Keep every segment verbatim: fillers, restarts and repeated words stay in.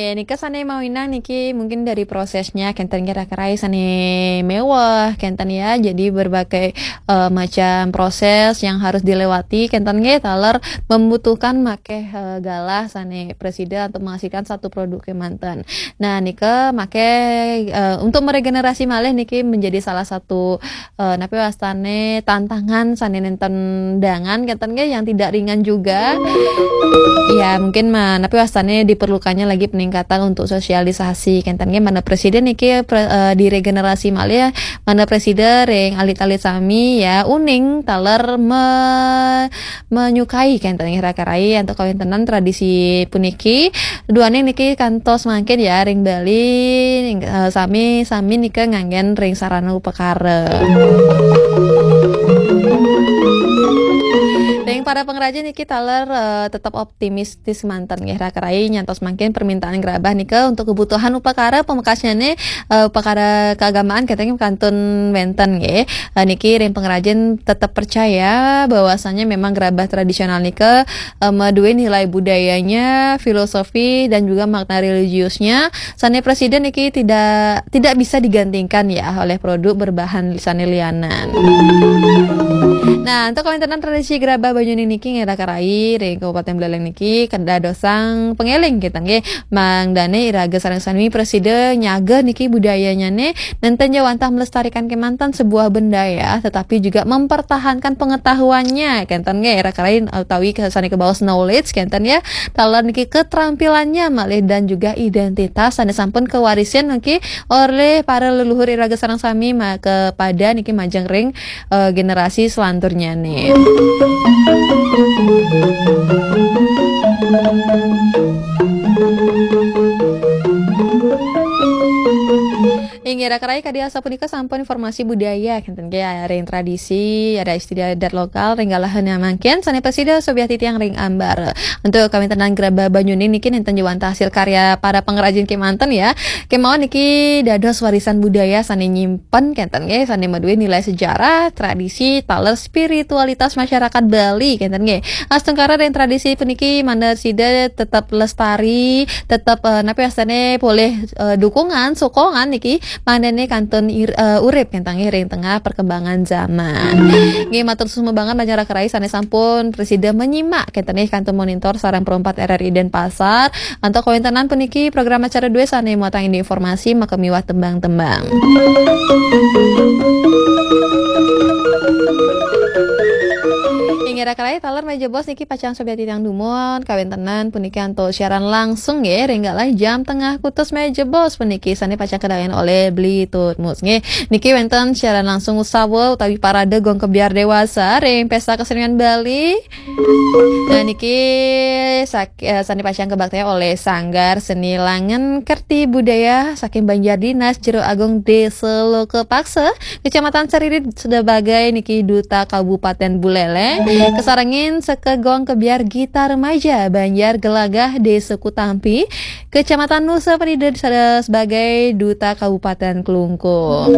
Nika sane mawinan niki mungkin dari prosesnya kenten kira-kira sane mewah kenten ya. Jadi berbagai eh, macam proses yang harus dilewati kenten nggih taler membutuhkan make eh, galah sane presida untuk menghasilkan satu produk kemanten. Nah, nika make eh, untuk meregenerasi malih niki menjadi salah satu eh, napi wastane tantangan sane nenten dangan kenten nggih yang tidak ringan juga. Ya, mungkin ma, napi wastane diperlukannya lagi peningkatan untuk sosialisasi kenten nggih mana presiden niki pre, eh, diregenerasi malih mana presiden ring alit-alit sami ya uning taler me, menyukai kenten nggih rakarai untuk kawintenan tradisi puniki duane niki kantos mangkin ya ring Bali ning, eh, sami sami nika nganggen ring sarana upakara. Ring para pengrajin niki taler eh, tetap optimistis manten nggih rakarai nyantos mangkin permintaan gerabah nika untuk kebutuhan upakara pamekasnyane eh, upakara keagamaan katanya kantun wenten nggih. Eh, niki ring pengrajin tetap percaya bahwasanya memang gerabah tradisional nika eh, madue nilai budayanya, filosofi dan juga makna religiusnya. Sane presiden niki tidak tidak bisa digantikan ya oleh produk berbahan sane lianan. Nah, untuk kawintenan tradisi gerabah Banyuning niki ngira karai ring Kabupaten Buleleng niki kedadosang pengeling kita nggih. Mangdane iraga sareng sami presida nyaga niki budayanyane nenten ja wantah melestarikan kemanten sebuah benda ya, tetapi juga mempertahankan pengetahuannya. Kenten nggih ira karai utawi ke sane kebaos knowledge kenten ya. Taler niki ketrampilannya malih dan juga identitas sane sampun kewarisin niki oleh para leluhur iraga sareng sami ma kepada niki majeng ring eh, generasi selanturnya nih. Inggih rakarai kadi asapunika sampun informasi budaya kenten nggih ring tradisi ada istiadat lokal ring galahan mangkin sane presida sobiah titiang ring ambar. Untuk kawintenan gerabah Banyuning niki nenten ja wantah hasil karya para pengrajin kemanten ya. Kemawon niki dados warisan budaya sane nyimpen kenten nggih sane madue nilai sejarah, tradisi, taler spiritualitas masyarakat Bali kenten nggih. Astungkara ring tradisi puniki manah sida tetap lestari, tetap eh, napi astane polih eh, dukungan, sokongan niki manene kantun ir, eh, urip kenten nggih ring tengah perkembangan zaman. Nggih matur sumebangan majeng rakarai sane sampun presida menyimak kenten nggih kantun monitor sareng perempat R R I Denpasar. Antuk kawintenan puniki program acara due sane muatang indi informasi maka miwah tembang-tembang. Inggih rakarai taler meja bos niki pacang sobiah titiang dumun kawintenan puniki antuk siaran langsung nggih ring galah jam tengah kutus meja bos puniki sane pacang kedayan oleh Beli Tutmus nggih. Niki wenten siaran langsung usawa utawi parade gong kebyar dewasa ring Pesta Kesenian Bali. Nah niki sak, eh, sane pacang kebaktian oleh Sanggar Seni Langen Kerti Budaya saking Banjar Dinas Jero Agung Desa Lokepaksa, Kecamatan Seririt sebagai niki Duta Kabupaten Buleleng, kesarengin sekegong kebyar Gita Remaja Banjar Gelagah Desa Kutampi, Kecamatan Nusa Penida sada sebagai Duta Kabupaten Klungkung.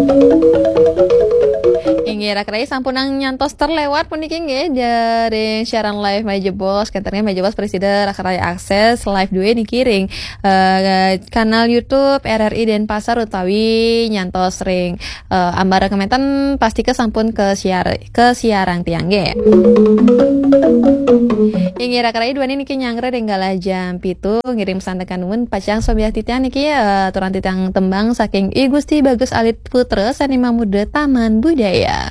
Inggih rakarai sampunang nyantos terlewat puniki nggih dari siaran live Meja Bos kenten nggih Meja Bos presida rakarai akses live due niki ring eh, kanal YouTube R R I Denpasar utawi nyantos ring eh, ambara kementen pastika sampun ke siar ke siarang tiang nggih. Inggih rakarai duane niki nyanggra ring galah jam pitu ngiring pesan tekan nuwun pacang sobiah titiang niki eh, aturan titiang tembang saking I Gusti Bagus Alit Putra sane mamuda Taman Budaya.